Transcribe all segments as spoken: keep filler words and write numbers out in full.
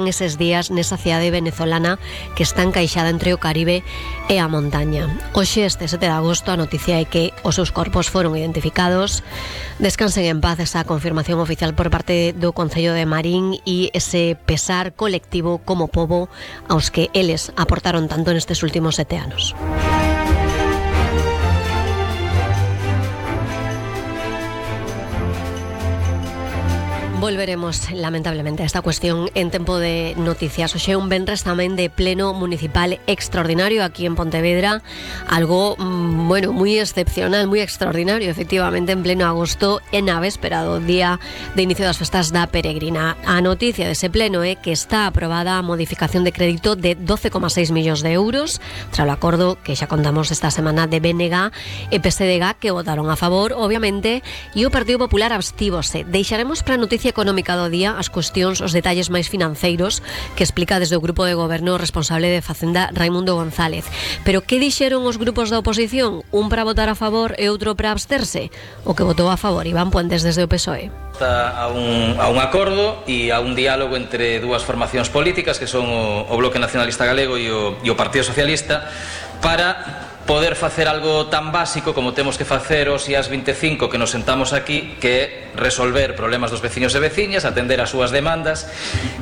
eses días nesa cidade venezolana que está encaixada entre o Caribe e a montaña. Hoxe, este sete de agosto, a noticia é que os seus corpos foron identificados. Descansen en paz esa confirmación oficial por parte do Concello de Marín e ese pesar colectivo como pobo aos que eles aportaron tanto nestes últimos sete anos. Volveremos, lamentablemente, a esta cuestión en tempo de noticias. Hoxe un venres tamén de pleno municipal extraordinario aquí en Pontevedra. Algo, bueno, moi excepcional, moi extraordinario, efectivamente, en pleno agosto, en a véspera do día de inicio das festas da Peregrina. A noticia dese pleno é que está aprobada a modificación de crédito de doce coma seis millóns de euros, tras o acordo que xa contamos esta semana de B N G e P S D G, que votaron a favor, obviamente, e o Partido Popular abstívose. Deixaremos para a noticia económica do día as cuestións, os detalles máis financeiros que explica desde o grupo de goberno responsable de Facenda, Raimundo González. Pero que dixeron os grupos da oposición? Un para votar a favor e outro para absterse? O que votou a favor, Iván Puentes, desde o P S O E. A un, a un acordo e a un diálogo entre dúas formacións políticas que son o, o Bloque Nacionalista Galego e o, e o Partido Socialista para poder facer algo tan básico como temos que facer os días vinte e cinco que nos sentamos aquí, que é resolver problemas dos veciños e veciñas, atender as súas demandas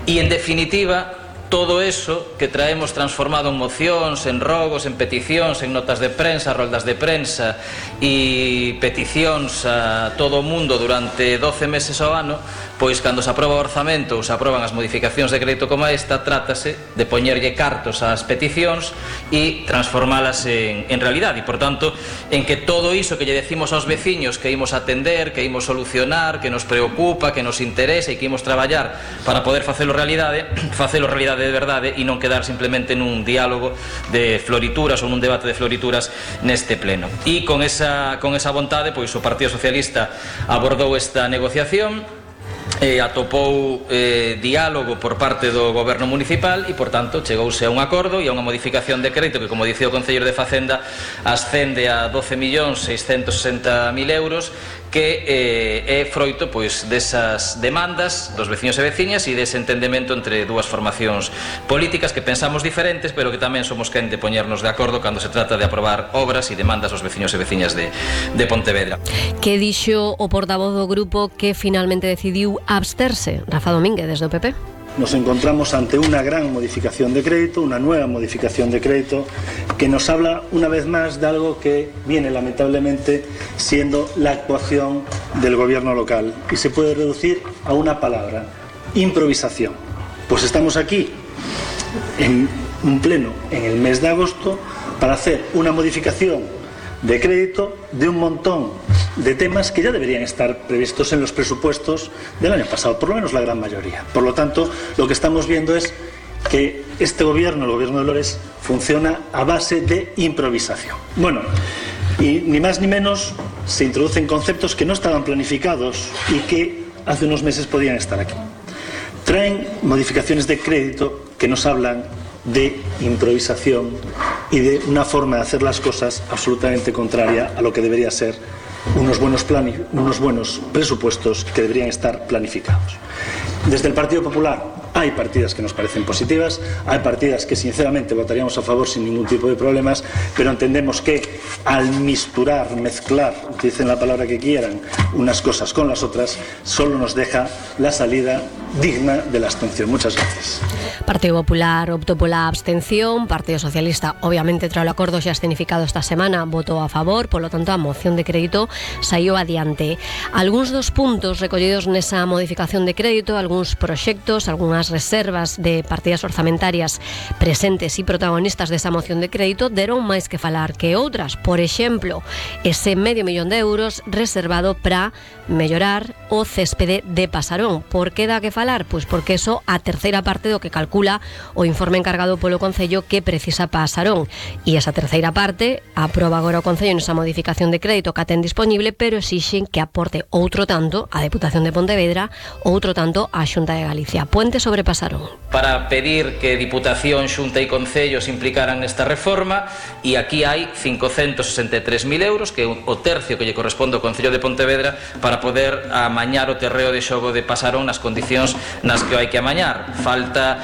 e, en definitiva, todo eso que traemos transformado en mocións, en rogos, en peticións, en notas de prensa, roldas de prensa e peticións a todo o mundo durante doce meses ao ano, pois cando se aproba o orzamento ou se aproban as modificacións de crédito como esta, trátase de poñerlle cartos ás peticións e transformalas en, en realidade. E, por tanto, en que todo iso que lle decimos aos veciños que imos atender, que imos solucionar, que nos preocupa, que nos interesa e que imos traballar para poder facelo realidade, facelo realidade de verdade e non quedar simplemente nun diálogo de florituras ou nun debate de florituras neste pleno. E con esa, con esa vontade, pois o Partido Socialista abordou esta negociación, e atopou eh, diálogo por parte do goberno municipal e, por tanto, chegouse a un acordo e a unha modificación de crédito que, como dicía o Concelleiro de Facenda, ascende a doce millóns seiscentos sesenta mil euros, que eh, é froito pois desas demandas dos veciños e veciñas e dese entendemento entre dúas formacións políticas que pensamos diferentes, pero que tamén somos quen de poñernos de acordo cando se trata de aprobar obras e demandas dos veciños e veciñas de, de Pontevedra. Que dixo o portavoz do grupo que finalmente decidiu absterse? Rafa Domínguez, desde o P P. Nos encontramos ante una gran modificación de crédito, una nueva modificación de crédito, que nos habla una vez más de algo que viene lamentablemente siendo la actuación del gobierno local y se puede reducir a una palabra: improvisación. Pues estamos aquí en un pleno en el mes de agosto para hacer una modificación de crédito de un montón de temas que ya deberían estar previstos en los presupuestos del año pasado, por lo menos la gran mayoría. Por lo tanto, lo que estamos viendo es que este gobierno, el gobierno de Lores, funciona a base de improvisación. Bueno, y ni más ni menos se introducen conceptos que no estaban planificados y que hace unos meses podían estar aquí. Traen modificaciones de crédito que nos hablan de improvisación y de una forma de hacer las cosas absolutamente contraria a lo que debería ser unos buenos, plani- unos buenos presupuestos que deberían estar planificados. Desde el Partido Popular hay partidas que nos parecen positivas, hay partidas que sinceramente votaríamos a favor sin ningún tipo de problemas, pero entendemos que al misturar, mezclar, utilicen la palabra que quieran, unas cosas con las otras, solo nos deja la salida digna de la abstención. Muchas gracias. Partido Popular optou pola abstención, Partido Socialista, obviamente, tras o acordo xa escenificado esta semana, votou a favor, polo tanto a moción de crédito saiu adiante. Algúns dos puntos recollidos nesa modificación de crédito, algúns proxectos, algunhas reservas de partidas orzamentarias presentes e protagonistas desa moción de crédito deron máis que falar que outras. Por exemplo, ese medio millón de euros reservado para mellorar o céspede de Pasarón. Por que dá que falar? Pois porque eso a terceira parte do que calcula o informe encargado polo Concello que precisa Pasarón. E esa terceira parte aproba agora o Concello nesa modificación de crédito que ten disponible, pero exixen que aporte outro tanto a Deputación de Pontevedra, outro tanto a Xunta de Galicia. Puente sobre Pasarón. Para pedir que Diputación, Xunta e Concello se implicaran nesta reforma, e aquí hai cincocentos sesenta e tres mil euros, que é o tercio que lle corresponde ao Concello de Pontevedra, para poder amañar o terreo de xogo de Pasarón nas condicións cuestións nas que hai que amañar. Falta